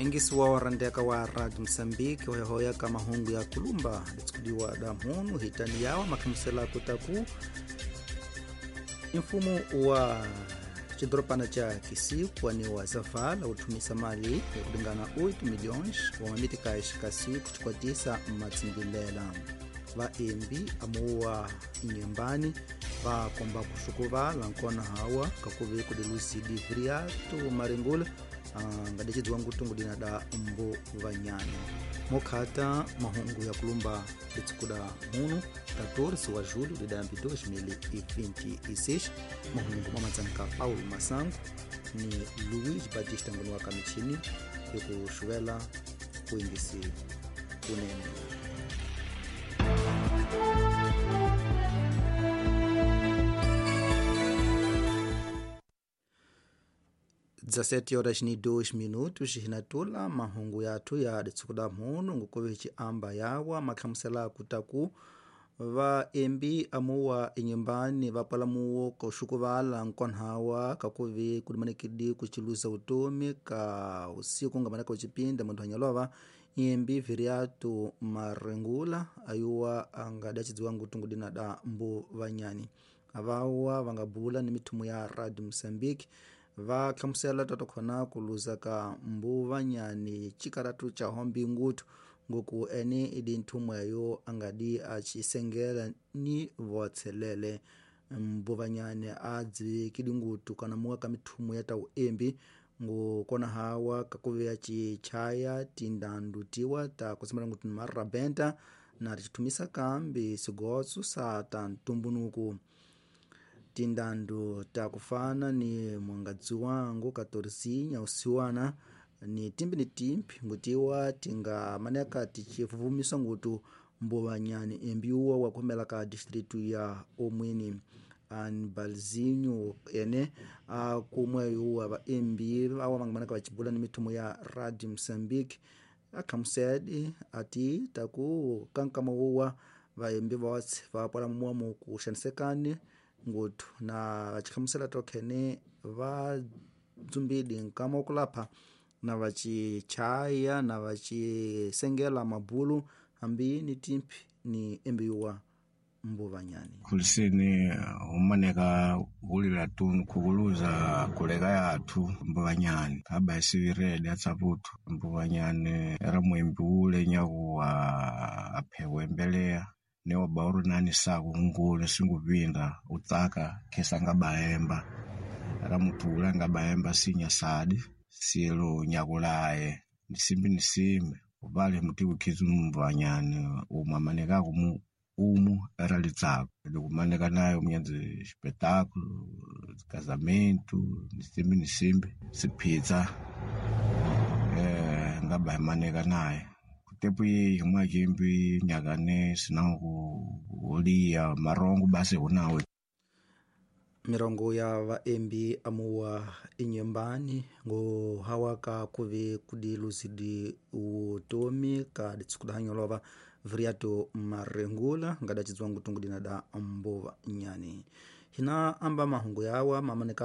Engisiwa wa randeka wa Radio Moçambique hoyahoya ka mahungu ya kulumba litsikudiwa da mhunu hitani yawa makhamusela kutaku mfumo wa cidorobana ca Kisiku wa Zavala uthumisa mali ya kulingana 8 milhões wa mamitikais kasi kucikwatisa matsimbilela vaembi amuwa inyembani vakomba kuxukuvala nkona hawa kakuve kudilusidi viriato maringula ngadecidziwa ngutungu dina da mbu vanyani mokhata mahungu ya kulumba litsikuda munu 14 wa julho de 2026 mahungu mamatsanka Paulo Masango ni Luiz Batista ngoni wa kamichini yokuxuvela kuingisi kunene. Dezessete horas ni 2 minutos hinatula mahungu yathu ya ditsukuda mhunu ngukuve amba yawa makhamusela kutaku vaembi amuwa inyumbani vapala muwo koxukuvala nkonhawa kakuve kudimanekidi kuciluza utomi ka usiku ngamaneka ucipinda mundu hanyalova imbi viriatu marengula ayuwa angadacidziwa ngutungu dina da mbu vanyani avawa vangabula ni mithumu ya Radio Moçambique vakhamusela tatokhona kuluza ka mbu vanyani cikaratu ca hombi ngutu ngoku ene idi nthumwe eyo angadi acisengela ni votselele mbu vanyani adzivikidi ngutu kana muwa ka mithumu ya tau embi ngukona hawa kakuveya cichaya tindandu tiwa ta kusimela ngutu ni marabenta na ticithumisa kambi sigotso sa ta ntumbunuku tindandu takufana ni mwangadzi wangu katorisinya usiwana ni timbi ni timbi ngutiwa tingamaneka ticivuvumisa ngutu mbuvanyani embiuwa wakhomela ka distritu ya omwini anbalzinho ene akumwe yuwa vaembi awa vangamaneka vacibula ni mithumu ya Radio Moçambique akhamusedi ati taku kankama wuwa vaembi votse vapola muwa mukuxanisekani ngutu na vacikhamusela tokhene va dzumbidi nkama okulapha na vacichaya na vacisengela mabulu hambi ni timpi ni embiwa mbuvanyani khulisini humaneka hulila tunu khukuluza kuleka yathu mbuvanyani khaba isivirede atsaputhu mbuvanyani era mwembi ule nyakuwa aphewa embeleya neoba uri nani saku ngule singupinda utsaka khesa ngabaemba era muthu ule angabaemba sinya sadi silo nyakulaye nisimbi nisimbi upale muti kukhizi mbuvanyani umwe amanekaku mu umu era litsako likumaneka naye munyenzi espetáculo casamento nisimbi nisimbi siphitsa ngaba imaneka naye tepu yeyi mwakimbi nyakane sinangu kuliya marongo basi hunawe mirongo ya vaembi amuwa inyembani ngo ka kuve kudiluzidi utomi ka ditsukuda viriato marengula ngadacidziwa ngutungu dina da mbuva nyani hina amba mahungu yawa mamaneka.